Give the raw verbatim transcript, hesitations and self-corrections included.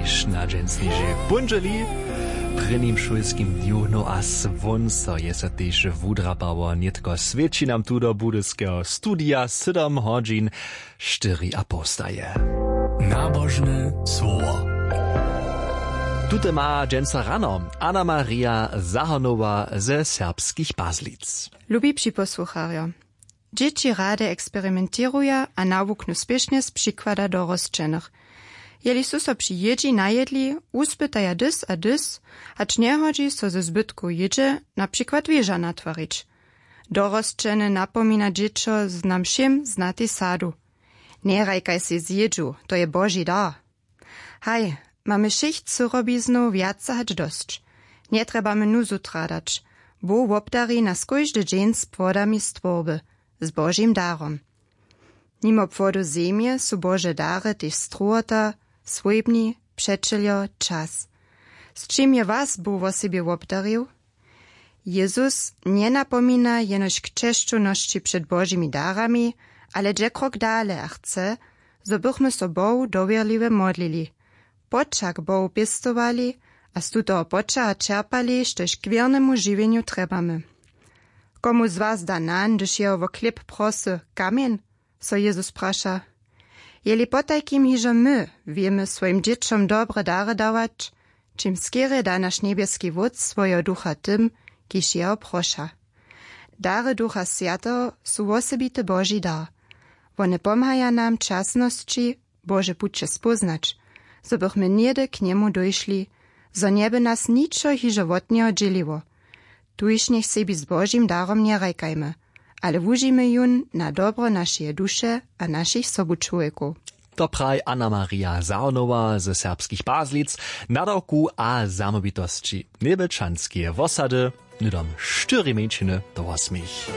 Šna dźensnižej póndźeli, prěnim šulskim dnju, no a słónco je so tež wudrapało, nětko swěći nam tu do budyskeho studija sydom hodźin štyri a poł staje. Nabožne słowo. Tute ma dźensa rano Anna Maria Zahonowa ze Serbskich Pazlic. Lubi připosłucharjo, dźěći rady eksperimentěruja a nawuknu spěšnje z přikłada dorosćenych. Jeli su so při jědźi najedli, wuspytaja dys a dys, hač njehodźi so ze zbytkow jědźe na přikład wěža natwarić. Dorosćene napomina dźěćo z nam wšěm znatej sadu: Njerajkaj sej z jědźu, to je Boži dar. Haj, mamy wšěch cyrobiznow wjace hač dosć. Njetrjebamy nuzu tradać. Bóh wobdari nas kóždy dźeń z płodami stwórby, z Božim darom. Nimo płodow zemje su Bože dary tež strowota, swójbni, přećeljo, čas. Z čim je was Bóh wosebje wobdarił? Jezus njenapomina jenož k česćownosći před Božimi darami, ale dźe krok dale a chce, zo bychmy so Bohu dowěrliwje modlili, poćah k Bohu pěstowali a z tutoho poćaha čerpali, štož k wěrnemu žiwjenju trjebamy. Komu z was da nan, hdyž jeho wo chlěb prosy, kamjeń? So Jezus praša. Jeli potajkim hižo my wěmy swojim dźěćom dobre dary dawać, čim skerje da naš njebjeski Wótc swojeho Ducha tym, kiž jeho proša. Dary Ducha Swjateho su wosebity Boži dar. Wone pomhaja nam w časnosći Bože puće spóznać, zo bychmy něhdy k njemu dóšli, zo njeby nas ničo hižo wot njeho dźěliło. Tuž njech sebi z Božim darom njerajkajmy, ale wužijmy jón na dobro našeje duše a našich sobučłowjekow. To praji Anna Maria Zahonowa ze Serbskich Pazlic, nadawku a zamołwitosći Njebjelčanskeje wosady, hnydom štyri mjeńšiny do wosmich.